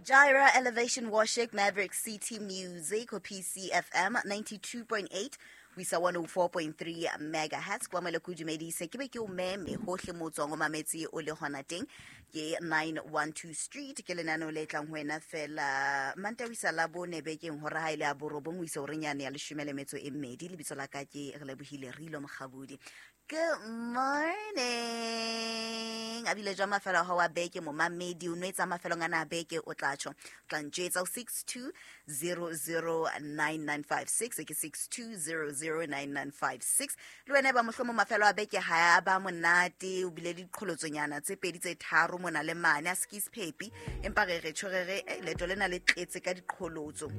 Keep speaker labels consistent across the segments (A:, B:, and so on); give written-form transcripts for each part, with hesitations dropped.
A: Gyra Elevation Worship, Maverick City Music ho PCFM 92.8 ho isa 104.3 megahertz. Kwa mele ke o dumedise, ke be ke o meme hohle mo o tswang o mametse o le hona teng. Ke 912 Street, ke lenaneo le tlang ho wena fela Mantaha ho isa Labone bekeng hora ha e le ya borobong ho isa horeng yane ya leshome le metso e mmedi. Lebitso la ka ke Relebohile Rilo Mokgabudi. Good morning. A bile jwa mafelo a hao a beke momamedi o nwetsa mafelong ana a beke o tla tjho. O tla ntjwetsa o 62009956 ke 62009956. Le wena ba mohlomong mafelo a beke ha a ba monate o bile le diqholotsonyana tse pedi tse tharo mona le mane a se ke sephepi empa re re tjho re re leeto lena le tletse ka diqholotso.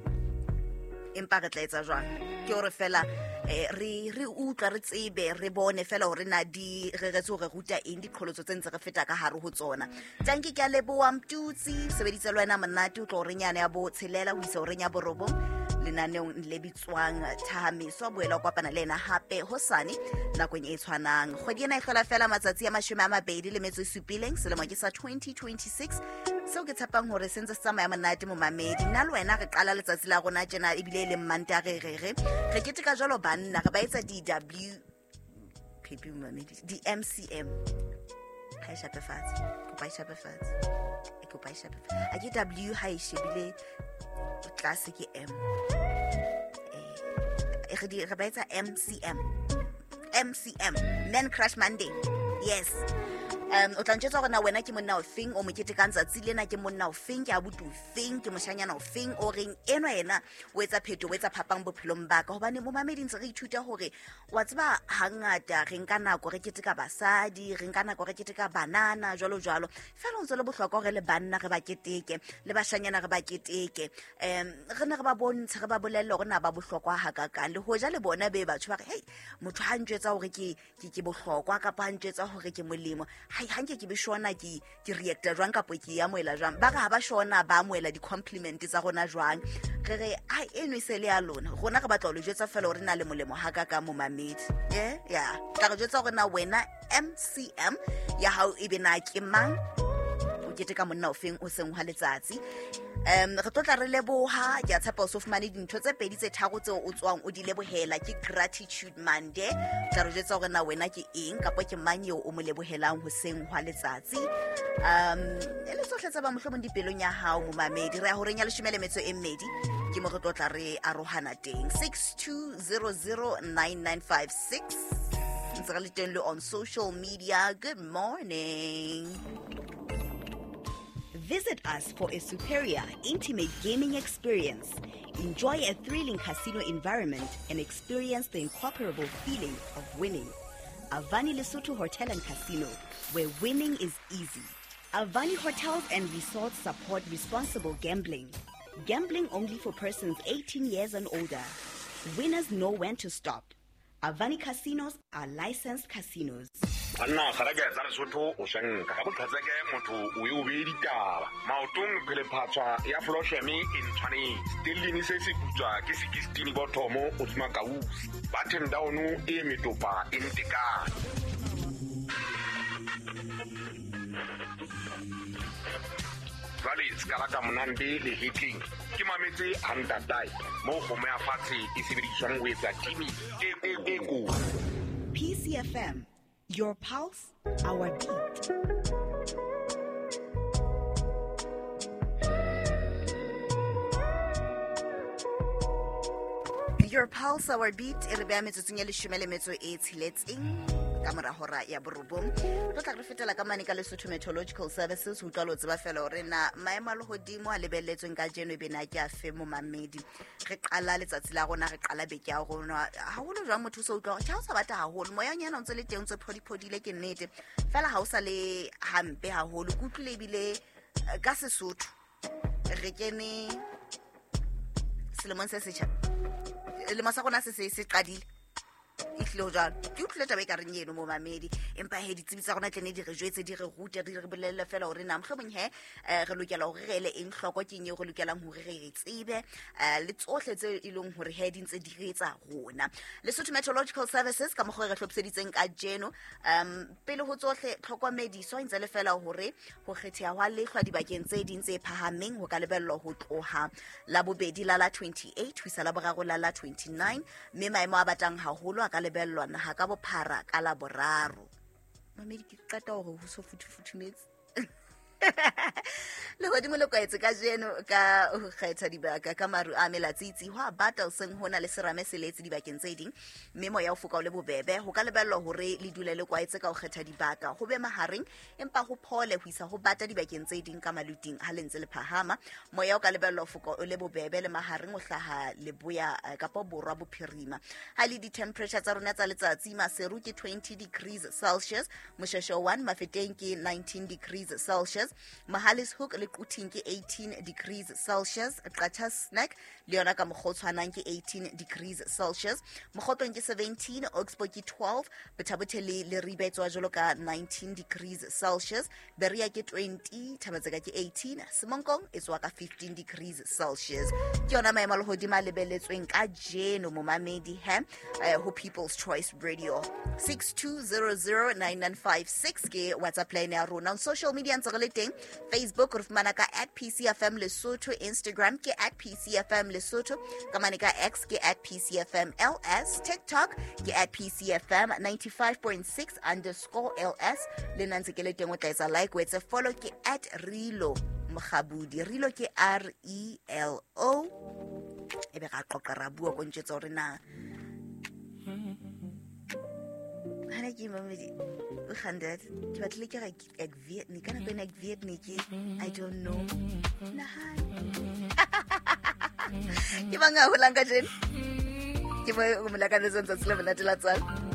A: Empa re tla etsa jwang? Ke hore fela re utlwa re tsebe re bone fela hore na di reretse hore ruta eng diqholotso tse ntse re feta ka hare ho tsona. Tanki ke a leboha Mtutsi, sebeditse le wena monate o tlo horeng yane ya bo tshelela ho isa horeng ya borobong lenaneong le bitswang Thahamiso. Boela o kopana le ena hape hosane nakong e tshwanang. Kgwedi ena e hlola fela matsatsi a mashome a mabedi le metso e supileng, selemo ke sa 2026. Seo ke tshepang hore se ntse se tsamaya monate momamedi. Nna le wena re qala letsatsi la rona tjena ebile e leng Mantaha re re re re keteka jwalo banna re ba etsa di-W P P momamedi, di-M C M. Ha e shape fatshe, kopa e shape fatshe, e kopa e shape fatshe. A ke W ha e shebile tlase ke M. Re ba etsa M C M. M C M, Man Crush Monday. Yes. O tla ntjwetsa hore na wena ke monna ofeng o mo ketekang tsatsi lena, ke monna ofeng, ke abuti ofeng, ke moshanyana ofeng o reng enwa yena o etsa pheto, o etsa phapang bophelong ba ka. Hobane momamedi ntse re ithuta hore wa tseba hangata re nka nako re keteka basadi, re nka nako re keteka banana jwalo jwalo. Feela ho ntse le bohlokwa hore le banna re ba keteke, le bashanyana re ba keteke. Re ne re ba bontshe, re ba bolelle hore na ba bohlokwa hakakang. Le hoja le bona be batho ba re, hey, motho ha ntjwetsa hore ke bohlokwa kapa ha ntjwetsa hore ke molemo, hai, ha nke ke be shona ke reacta jwang kapa ke amohela jwang. Ba re ha ba shona ba amohela di-compliment tsa rona jwang. Re re, hai, eno e se le ya lona, rona re batla ho le jwetsa fela hore na le molemo hakakang momamedi. Ya. Tla re jwetsa hore na wena MCM ya hao e be na ke mang, o keteka monna ofeng o seng hwa letsatsi. Re tlo tla re leboha, ke a tshepa o so fumane dintho tse pedi tse tharo tseo o tswang o di lebohela. Ke Gratitude Monday. Tla re jwetsa hore na wena ke eng kapa ke mang eo o mo lebohelang hoseng hwa letsatsi. E le tsohle tse ba mohlomong dipelong ya hao momamedi. Re ya horeng ya leshome le metso e mmedi, ke mo re tlo tla re arohana teng. 62009956. Ntse re le teng le on social media. Good morning.
B: Visit us for a superior, intimate gaming experience. Enjoy a thrilling casino environment and experience the incomparable feeling of winning. Avani Lesotho Hotel and Casino, where winning is easy. Avani Hotels and Resorts support responsible gambling. Gambling only for persons 18 years and older. Winners know when to stop. Avani Casinos are licensed casinos.
C: Banna kgareke tsa Lesotho o shanka ka boqhetseke motho o e o beye ditaba. Maotong phelephatswa ya Flosheme e ntshwanetse. Stellini se se putswa ke 16 bothomo o tsuma kausi. Button down e metopa e ntekane. Jwale se ka rata monande le hetleng. Ke mametse ha ntatae moo kgomo ya fatshe e sebediswang ho etsa timi e kotsi.
B: PCFM, your pulse, our beat.
A: Your pulse, our beat. E re beha metsotsong ya leshome le metso e tsheletseng ka mora hora ya borobong. Re tla re fetela ka mane ka Lesotho Meteorological Services ho utlwa le ho tseba fela hore na maemo a lehodimo a lebelletsweng kajeno e be na ke a fe momamedi. Re qala letsatsi la rona, re qala beke ya rona. Haholo jwang motho o so utlwa hore tjhe, ha o sa bata haholo, moyanyana o ntse le teng, o ntse phodiphodile, ke nnete. Fela ha o sa le hampe haholo. Ke utlwile ebile ka Sesotho re kene selemong se setjha. Selemo sa rona se se qadile. E tlile ho jwalo. Ke utlwile taba e ka reng eno mo mamedi, empa he ditsebi tsa rona tlene di re jwetse, di re rute, di re bolelle fela hore na mohlomong he re lokela hore re ele eng hloko, ke eng eo re lokelang hore re e tsebe, le tsohle tse e leng hore he di ntse di re etsa rona. Lesotho Meteorological Services ka mokgwa e re hlophiseditseng kajeno, pele ho tsohle tlhokomediso e ntse le fela hore ho kgetheha hwa lehlwa dibakeng tse ding tse phahameng ho ka lebellwa ho tloha la bobedi la la 28 ho isa la boraro la la 29, mme maemo a batang haholo a ka lebellwa naha ka bophara ka la boraro. Mamedi, ke qeta hore ho so futhufuthumetse. Lehodimo le kwaetse kajeno ka ho kgetha dibaka ka maru a melatsitsi, ho a bata hoseng hona le serame se letse dibakeng tse ding, mme moya o foka o le bobebe. Ho ka lebellwa hore le dule le kwaetse ka ho kgetha dibaka, ho be mahareng empa ho phole ho isa ho bata dibakeng tse ding ka maluting ha le ntse le phahama. Moya o ka lebellwa ho foka o le bobebe le mahareng o hlaha leboya kapa borwa bophirima. Ha le di-temperature tsa rona tsa letsatsi, Maseru ke 20 degrees Celsius, Mosheshe 1 Mafeteng ke 19 degrees Celsius, Mohale's Hoek le Quthing ke 18 degrees Celsius, Qacha's Nek le yona ka mokgwa o tshwanang ke 18 degrees Celsius, Mokgotlong ke 17, Oxbow ke 12, Botha-Bothe le Leribe e tswa jwalo ka 19 degrees Celsius, Berea ke 20, Thaba-Tseka ke 18, Semonkong e tswa ka 15 degrees Celsius. Ke yona maemo a lehodimo a lebelletsweng kajeno momamedi he ho People's Choice Radio. 62009956 ke WhatsApp line ya rona. On social media ntse re le teng, Facebook re fumana ka at PCFM Lesotho, Instagram ke at PCFM Lesotho, ka mane ka X ke at PCFM LS, TikTok ke at PCFM 95.6 underscore LS. Le nna ntse ke le teng, o tla etsa like, o etse follow, ke at Relo Mokgabudi. Relo ke R E L O. E be ra qoqa ra bua ko ntjwetsa hore na hana ke mamedi o gandad ke batlile ke re ek weet nie, ka nako ena ek weet nie ke I don't know. Nahana ke mang a holang kajeno? Ke mo o mo lakaletsang tsatsi le monate la tswalo.